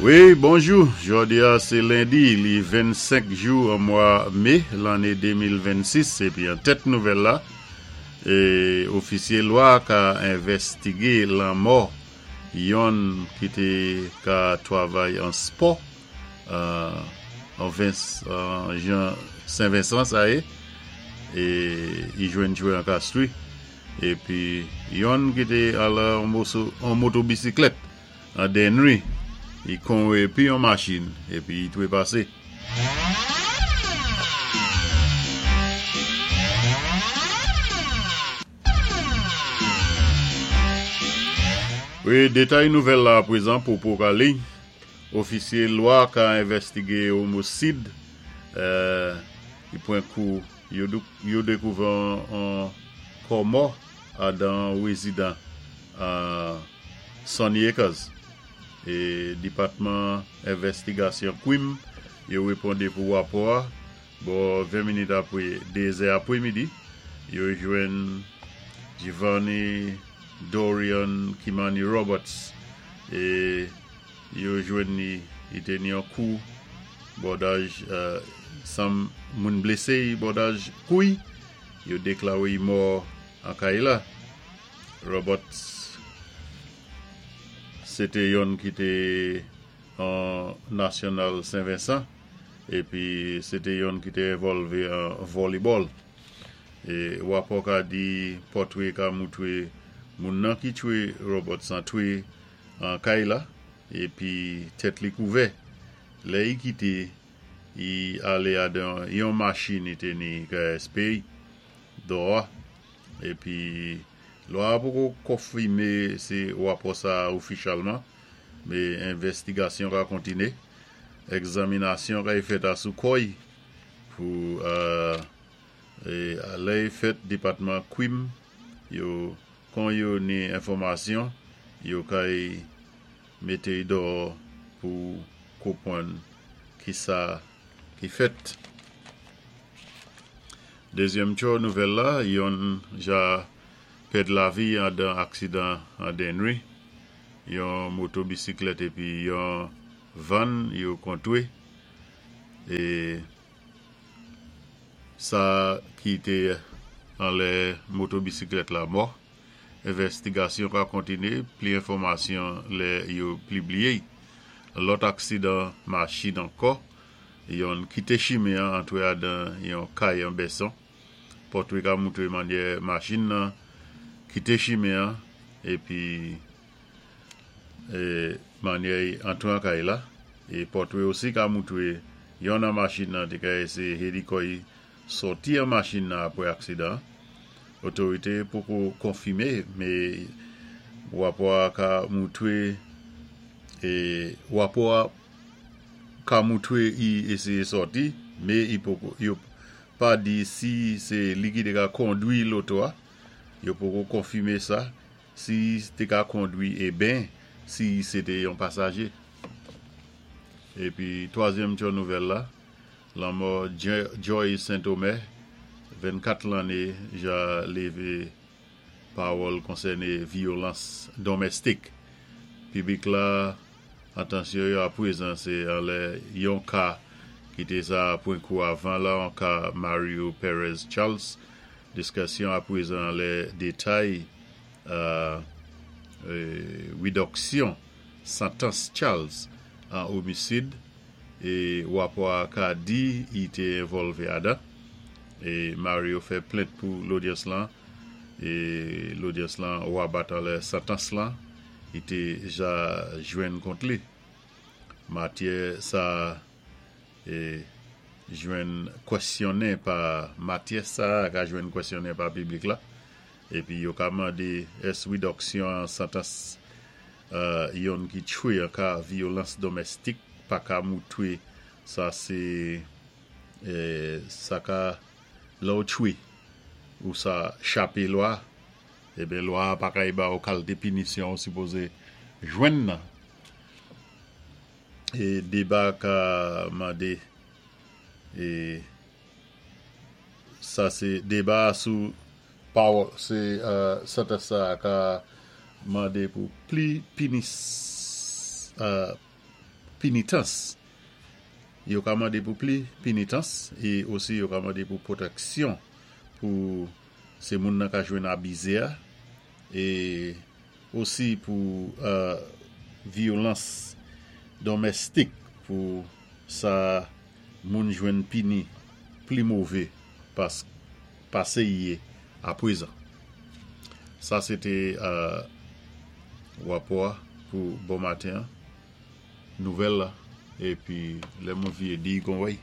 Wi, bonjou! Jòdi a sé lendi, li 25 jou an mwa mé lanné 2026 épi an tèt nouvèl la, ofisyé lwa ka envèstigé lanmò yonn ki té ka twavay an spò an jan Sen Vensan sa yé, e i jwenn tchwé an Kastri, épi yonn ki té al an motobisiklèt An Denri, i konwe pi yon machin epi i trepase. Wi, detay nouvèl la aprezan pou Prokali, Ofisye lwa ka envèstige omosid, i pwen kou yo dekouvè on kò mò adan rezidan Sunny Acres e Depatman Envèstigasyon Kwim yo reponde pou rapò a bò 20 minit apre 2 zè apre midi. Yo jwenn Giovanni Dorian Kimani Roberts e yo jwenn li li te ni yon kou bòdaj san moun blese yi bòdaj kouy. Yo deklare yi mò an kay la. Roberts se te yonn ki te an Nasyonal Sen Vensan epi se te yonn ki te envòlve an vòlibòl. E rapò ka di pòtre ka moutre moun nan ki tchwe Roberts an twe an kay la epi tèt li kouvè. Lè i kite i ale adan yon machin i te ni KSP dò a. Epi lwa a poko konfime se rapò sa a ofichalman, me envèstigasyon ka kontine. Egzaminasyon kay fèt a sou kò y pou lè y fèt depatman kwim yo kon yo ni enfòmasyon yo kay mete y dò pou kopwann kisa ki fèt. Dezyèm tchò nouvèl la, yonn ja pèd lavi andan aksidan an Denri, yon moto bisiklèt epi yon vann yo kontwe e sa ki te anlè moto bisiklèt la mò. Envèstigasyon ka kontine, pli enfòmasyon lè yo plibliye. Lòt aksidan machin ankò Yonn kite chimen an antre adan yon kay an bèson. Pòtre ka moutre manyè machin nan kite chimen an epi manyè y antre an kay la. E pòtre osi ka moutre yonn an machin nan te ka eseye hedi kò y sòti an machin nan apre aksidan an. Otorite poko konfime me rapò a ka moutre rapò a ka moutre i eseye sòti, me i poko, yo pa di si se li ki te ka kondwi loto a, yo poko konfime sa, si te ka kondwi e ben si se te yon pasaje. Epi twazyèm tchò nouvèl la, lanmò Joy Saint-Omer, 24 lanne ja leve pawòl konsène vyolans donmèstik. Piblik la Atansyon yo aprezan se anlè yon ka ki te sa pwen kou avan la an ka Mario Perez Charles. Diskasyon aprezan anlè detay reduksyon santans Charles an omisid e rapò a ka di i te envòlve adan e Mario fè plent pou lodyans lan e lodyans lan rabat anlè santans lan. Li te ja jwenn kont li. Matyè sa e jwenn kwèsyonnen pa Matyè sa a ka jwenn kwèsyonnen pa piblik la epi yo ka mande ès ridòksyon an santans yonn ki tchwe an ka vyolans domèstik pa ka moutre sa se sa ka lè w tchwe ou sa chape lwa. Eben lwa a pa kay ba ou kalte pinisyon ou sipoze jwenn nan. E deba ka mande e sa se deba a sou pawòl se santans sa a ka mande pou pli pinis. Pinitans. Yo ka mandé pou pli pinitans é osi yo ka mandé pou pwotèksyon pou sé moun nan ka jwenn abizé-a é osi pou vyolans donmèstik pou sa moun jwenn pini pli mové pasé y yé apwézan. Sa sé té wapò-a pou bon maten-an, nouvèl la, épi lè mwen viyé di kon wèy.